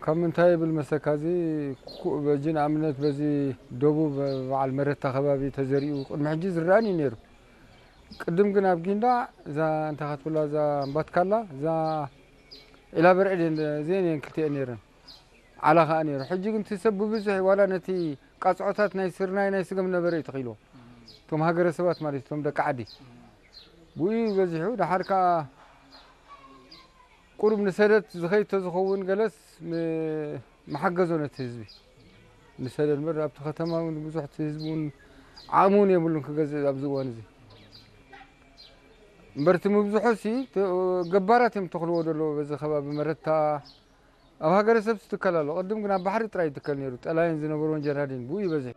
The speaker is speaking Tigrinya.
ካብ ምንታይ ይብል መሰካ፣ እዚ ኩ-፣ በጂ ንኣብነት በዚ ደቡብ በዓል መረታ ከባቢ ተዘሪኡ ቅድሚ ሕጂ ዝረኣን እዩ ነይሩ። ቅድም ግን ኣብ ጊንዳዕ እዛ እንታይ ክትብላ፣ እዛ እምባትካላ፣ እዛ ዒላ በርዕድ እየን፣ እዚአን እየን ክልቲአን ነይረን። ዓላ ከኣ ነይሩ። ሕጂ ግን እቲ ሰብ ብብዝሒ ዋላ ነቲ ቃጽዖታት ናይ ስርናይ ናይ ስገም ነበረ እዩ ተኺልዎ። እቶም ሃገረሰባት ማለት እቶም ደቂ ዓዲ። ብኡ በዚሑ። ደሓር ከኣ ቁሩብ ንሰደት ዝኸይድ ተዝኸውን ገለስ ም-፣ መሓገዞ ነቲ ህዝቢ። ንሰደት እምበር ኣብቲ ከተማ እውን ብዙሕ እቲ ህዝቢ እውን ዓቕሚ እውን የብሉን ክገዝእ ኣብዚ እዋን እዚ። እምበር እቲ ምብዝሖ ሲ ተ-፣ ገባራት እዮም ተኽልዎ ዘለዉ በዚ ከባቢ መረታ። ኣብ ሃገረሰብ ትከል ኣሎ። ቅድም ግን ኣብ ባሕሪ ጥራይ ይትከል ነይሩ። ጠላይን ዝነበርዎን ጀራዲን ብኡ ይበዝሕ።